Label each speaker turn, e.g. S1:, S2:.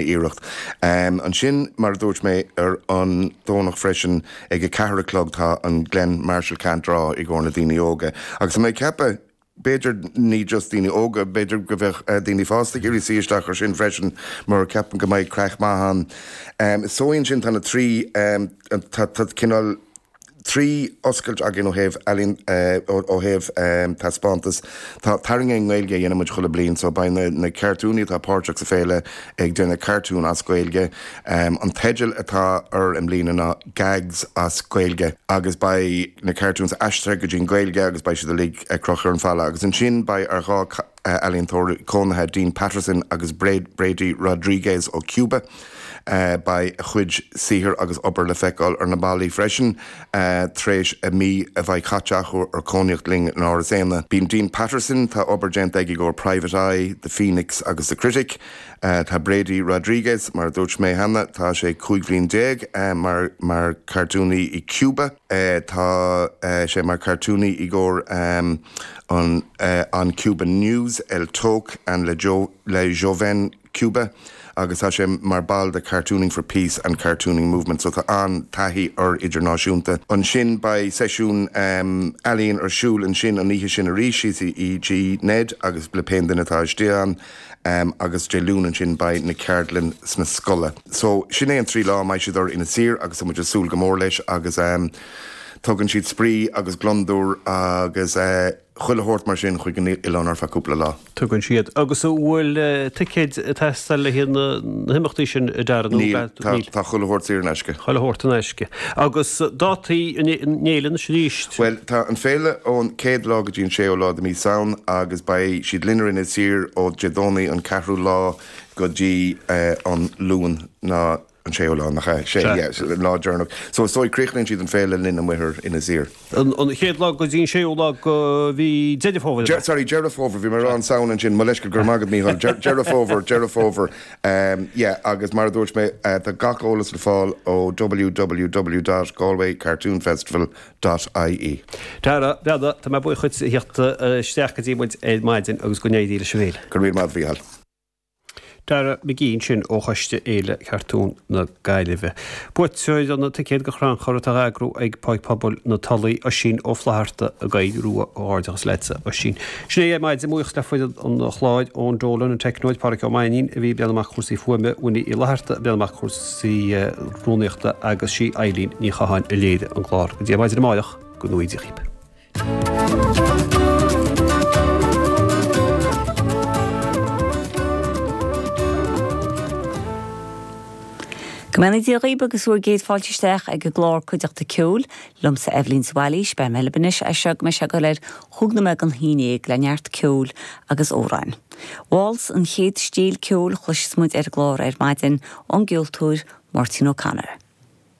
S1: Iarracht. Ansin, mar a dúirt mé, ar an Domhnach freisin ag a ceathair a chlog tá an Glen Marshall Can't Draw i gcomhair na daoine óga. Agus tá mé ag ceapadh, b'fhéidir ní just daoine óga, b'fhéidir go bheadh daoine fásta ag iarraidh suí isteach ar sin freisin mar ceapaim go mbeidh craic maith ann. So ansin tá na trí, tá cineál, 3 oscailt againn ó thaobh ealaíon, ó thaobh taispeántas. Tá tarraingt i nGaeilge a dhéanann muid chuile bliain so beidh na cartúnaí atá páirteach sa féile ag déanamh cartún as Gaeilge. An teideal atá air i mbliana ná Gags as Gaeilge agus beidh na cartoons aistrithe go dtí an Ghaeilge agus beidh siad uilig ag crochadh ar an bhfalla agus ansin beidh ár 2 ealaíontóir cónaithe Dean Patterson agus Brady Rodriguez ó Cuba. Beidh a chuid saothair agus obair le feiceáil ar na ballaí freisin tar éis mí a bheidh caite acu ar cónaíocht linn in Áras Éanna. Bíonn Dean Patterson, tá obair déanta aige i gcomhair Private Eye, The Phoenix agus The Critic. Tá Brady Rodriguez, mar a dúirt mé cheana, tá sé 15 bhliain mar mar cartúnaí i Cuba. Tá sé mar cartúnaí i gcomhair an an Cuban News, El Toque and Le Joven Cuba agus tá sé mar ball de Cartooning for Peace and Cartooning Movement so tá an-taithí air idirnáisiúnta. Ansin beidh seisiún ealaíon ar siúl ansin an oíche sin arís síos i dTigh Ned agus le pé duine atá istigh ann agus Dé Luain ansin beidh na ceardlann sna scoile. So sin é an 3 lá a mbeidh siad ar Inis Oírr agus tá muid ag súil go mór leis agus tugann siad spraoi agus gliondar agus. chuile shórt mar sin chuig an oileán ar feadh cúpla lá.
S2: Tugann siad. Agus an bhfuil ticéid ag teastáil le haghaidh na himeachtaí sin, a Dara?
S1: Níl, tá chuile shórt saor in aisce.
S2: Chuile shórt in aisce. Agus dátaí an fhéile anois arís?
S1: Bhuel, tá an féile ón chéad lá go dtí an séú lá de mí Samhain agus beidh siad linn ar Inis Oírr ó Dé Domhnaigh an ceathrú lá go dtí an Luan ná An séú lá, nach ea? Sé, yeah, an lá deireanach. So is dóigh críochnaíonn siad an féile linn amuigh ar Inis Oírr.
S2: An chéad lá go dtí an séú lá de mhí Deireadh Fómhair,
S1: ab ea? Sorry, Deireadh Fómhair, bhí mé ag rá an Samhain ansin, mo leithscéal, go raibh maith agat Mícheál. Deireadh Fómhair, Deireadh Fómhair. Yeah, agus mar a dúirt mé, tá gach eolas le fáil ó www dot galwaycartoonfestival dot ie.
S2: Dara, Bheanna, tá mé buíoch dhuit a theacht isteach go dtí muid ar maidin agus go n-éirí leis an bhféile.
S1: Go raibh míle maith agat, a Mhícheáil.
S2: Dara McGee ansin ó Choiste Fhéile Cartún na Gaillimhe. Buaiteoir an ticéad do chrannchur atá á eagrú ag Páirc Pobail na Tulaí, Oisín Ó Flatharta i gCoill Rua. Comhghairdeachas leatsa, Oisín. Sin é ar maidin, buíochas le foireann an chláir, Eoin Dolan, an teicneoir, Páraic Ó Mainnín a bhí ag breathnú amach cúrsaí fuaime, Winnie Uí Fhlatharta ag breathnú amach cúrsaí rúnaíochta agus sí Eileen Ní Chatháin a léirigh an clár. Go dtí ar maidin amáireach, go ngnóthaí Dia dhaoib.
S3: Go mbeannaí Dia dhaoib agus bhur gcéad fáilte isteach ag an gclár Cuideachta Ceoil, liomsa Eibhlín de Bhailís. Beidh mé libh anois as seo go mbeidh sé ag dul ar chúig nóiméad don haon dhéag le neart ceoil agus amhráin. Waltz an chéad stíl ceoil a chloisfeas muid ar an gclár ar maidin ón gceoltóir Máirtín O'Connor.